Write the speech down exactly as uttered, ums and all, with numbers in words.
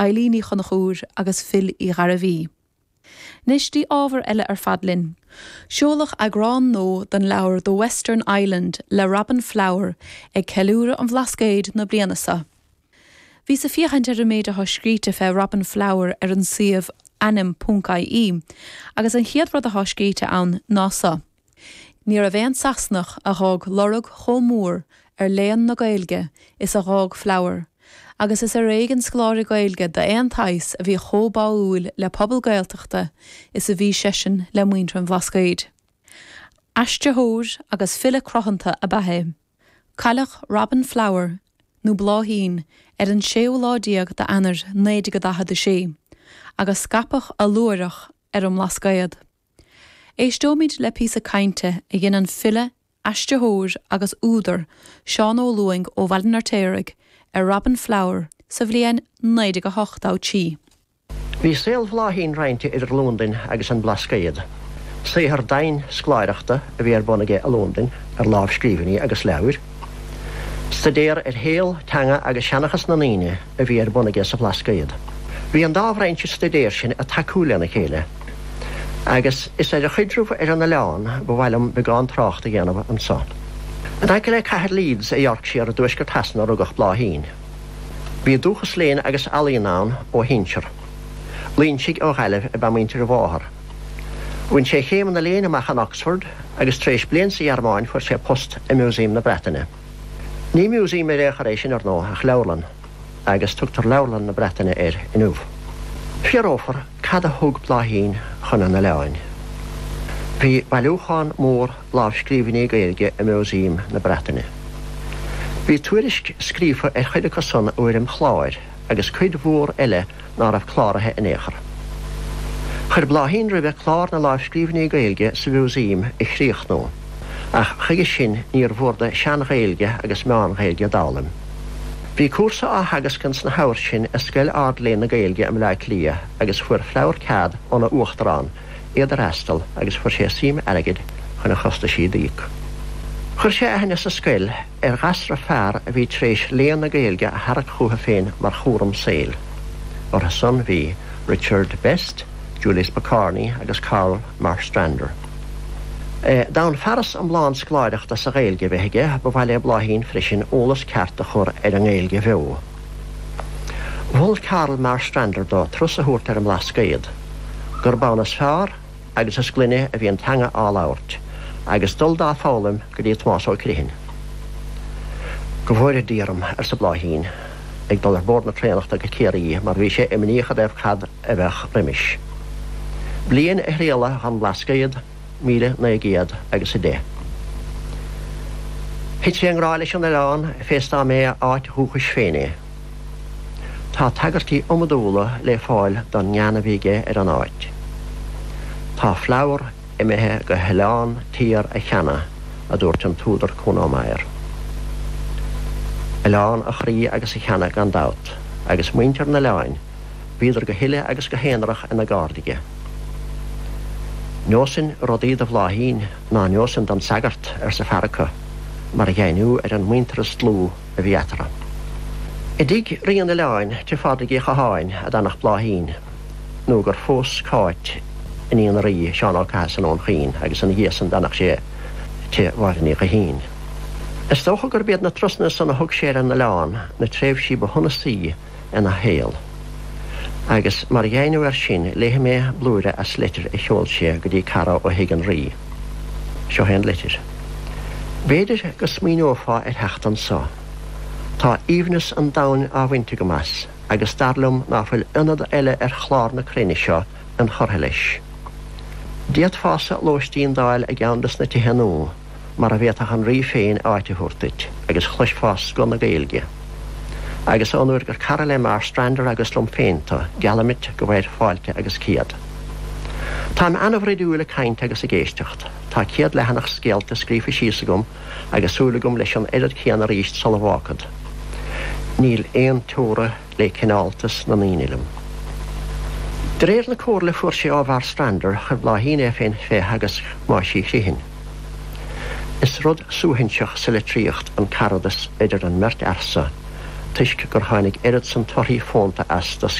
Eilín Ní Chonchúir agus Phil Uí Ghairbhí. Anois dtí ábhar eile ar fad linn. Seoladh eagrán nua den leabhar The Western Island le Robin Flower ag ceiliúradh an Bhlascaoid na bliana seo. Bhíos ag féachaint ar an méid atá scríte fé Robin Flower ar an suíomh ainm.ie, agus an chéad rud atá scríte ann ná seo. Ní raibh aon Sasanach a d'fhág lorg chomh mór ar léann na Gaeilge is a d'fhág Flower, agus is ar éigean scoláire Gaeilge d'aon tsaghas a bhí chomh báúil le pobal Gaeltachta is a bhí seisean le muintir an Bhlascaoid. Aistritheoir agus file cruthanta ab ea é. Cailleadh Robin Flower nó Bláithín ar an séú lá déag d'Eanáir naoi déag daichead a sé, agus scaipeadh a luaithreach ar an mBlascaod. Éisteoimid le píosa cainte a dhein an file, aistritheoir agus údar Seán Ó Lúing ó Bhaile an Fheirtéaraigh ar Robin Flower sa bhliain naoi déag a hocht a trí. Bhí saol Bhláithín roinnte idir Londain agus an Blascaod. Saothar dian scoláireachta a bhí ar bun aige i Londain ar lámhscríbhinní agus leabhair. Staidéar ar shaol, teanga agus seanchas na ndaoine a bhí ar bun aige sa Bhlascaod. Bhí an dá bhrainse staidéir sin ag tacú lena chéile. Agus is ar a chaidreamh ar an oileán ba mhaith liom beagán trácht a dhéanamh anseo. In aice le cathair Leeds i Yorkshire i dtuaisceart Shasana a rugadh Bláithín. Bhí dúchas léinn agus ealaíon ann ó shinsir. Loingsigh ó Ghaillimh ab ea muintir a mháthar. Bhain sé céimeanna léinn amach in Oxford agus tar éis bliain sa Ghearmáin fuair sé post i Museum na Breataine. Ní museum ar aon chor é sin ar ndóigh ach leabharlann, agus tugtar Leabharlann na Breataine air inniu. Fiafrófar cad a thug Bláithín chun an oileáin. Bhí bailiúchán mór lámhscríbhinní Gaeilge i Museum na Breataine. Bhí tuairisc scríofa ar chuid acu san i bhfoirm chláir agus cuid mhór eile ná raibh cláraithe in aon chor. Chuir Bláithín roimhe clár na lámhscríbhinní Gaeilge sa Mhúsaem a chríochnú, ach chuige sin níor mhór dó Sean-Ghaeilge agus Meán-Ghaeilge d'fhoghlaim. Bhí cúrsa á theagasc ins na huair sin i Scoil Ard-Léinn na Gaeilge i mBleá Cliath agus fuair Flower cead óna uachtarán iad a fhreastal agus fuair sé suim airgid chun a chostaisí d'íoc. Chuir sé aithne sa scoil ar ghasra fear a bhí tar éis léann na Gaeilge a tharrac chuige féin mar chúram saoil. Orthu san bhí Richard Best, Julius Pokorny agus Carl Marstrander. E, D'fhonn fearas iomlán scoláireachta sa Ghaeilge bheith aige ba mhaith le Bláithín freisin eolas ceart a chur ar an nGaeilge bheo. Mhol Carl Marstrander dó turas a thabhairt ar an mBlascaod, gurb ann is fearr agus is glaine a bhí an teanga á labhairt, agus dul dá foghlaim go dtí Tomás Ó Criomhthain. Go bhfóire Dia orm arsa Bláithín, ag dul ar bord na traenach go Ciarraí mar bhí sé imníoch i dtaobh cad a bheadh roimis. Bliain a thrialla an Blascaod míle naoi gcéad agus a deich. Thit sé i ngrá leis an oileán fé is dá mb'é a áit dhúchais féin é. Tá tagairtí iomadúla le fáil don ngean a bhí aige ar an áit. Tá Flower imithe go hoileán Tír a cheana a dúirt an t-údar Kuno Meyer. Oileán a chroí agus a cheana gan dabht, agus muintir an oileáin, bhíodar go huile agus go haonarach ina gcairde aige. Neosfainn rudaí do Bhláithín ná neosfainn don sagart arsa fear acu, mar dheimhniú ar an muintearas dlúth a bhí eatarthu. I dtigh Rí an Oileáin tigh Phádraig Uí Chatháin a d'fhanadh Bláithín, nó gur phós Cáit iníon an Rí Seán Ó Cathasaigh ón Chaoin agus ina dhiaidh san d'fhanadh sé tigh Mháire Ní Ghuithín. Is dócha gurb iad na turasanna san a thug sé ar an oileán na tréimhsí ba shonasaí ina shaol. Agus mar dheimhniú air sin léifidh mé blúire as leitir a sheol sé go dtí cara ó thigh an Rí. Seo é an litir. B'fhéidir go smaoineofá ar theacht anseo. Tá aoibhneas an domhain á bhaint agam as, agus dar liom ná fuil ionad eile ar chlár na cruinne seo inchurtha leis. D'fhéadfása lóistín d'fháil i gceann des na tithe nua, mar a bhféadfadh an rí féin áit a thabhairt duit, agus chloisfeá scoth na Gaeilge. Agus ón uair gur cara le Marstrander agus liom féin tú, geallaim duit go bhfaighir fáilte agus céad. Táim an-bhroidiúil ag caint agus ag éisteacht, Tá céad leathanach scéalta scríofa síos agam agus súil agam leis an oiread céanna arís sula bhfágfad. Níl aon teora le cineáltas na ndaoine liom. De réir na comhairle fuair sé ó Mharstrander chuir Bláithín é féin fé theagasc Thomáis Uí Chriomhthain. Is rud suaithinseach sa litríocht an caradas idir an mbeirt fhear seo, toisc gur tháinig oiread san torthaí fónta as do